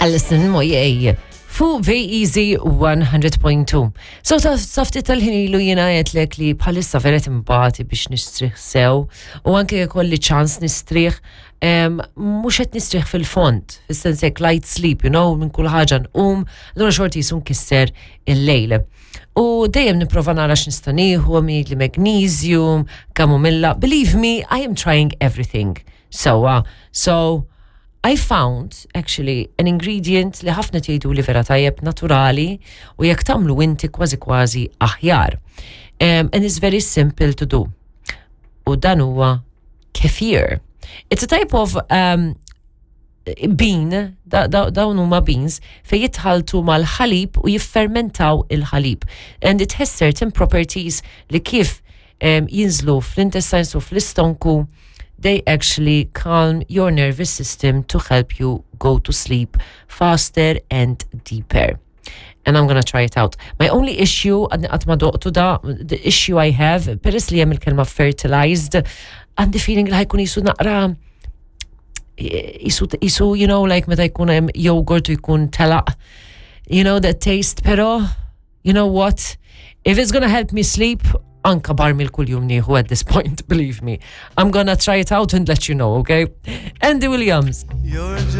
Alison Moyet fuq VEZ 100.2. So ta' safti tal-ħin ilu jiena għedtlek li bħalissa vera timbati biex nistrieħ sew u anke jkolli ċans nistrieħ mhux qed nistrieħ fil-fond, fis-sens hekk light sleep, you know, minn kull ħaġa nqum, allura xorti jisu nkisser il-lejl. U dejjem nipprova nara x'nista' nieħu, li magnesium, kamomilla. Believe me, I am trying everything. Sewwa. So, I found actually an ingredient li ħafna tgħidu li vera tajjeb naturali u jekk tagħmlu inti kważi kważi aħjar. And it's very simple to do. U dan huwa kefir. It's a type of bean, dawn huma beans, fej jitħaltu mal-ħalib u jiffermentaw il-ħalib. And it has certain properties li kif jinżlu fl-intestines u fl-istonku, they actually calm your nervous system to help you go to sleep faster and deeper. And I'm gonna try it out. My only issue, għadni qatt ma doqtu da, the issue I have, peress li hemm il-kelma fertilized, għandi feeling li ħa jkun jisu naqra jisu, like meta jkun hemm yogurt u jkun telaq, that taste, pero, you know what? If it's gonna help me sleep, anka barmil kull-jum nieħu at this point, believe me. I'm gonna try it out and let you know, okay? Andy Williams. You're just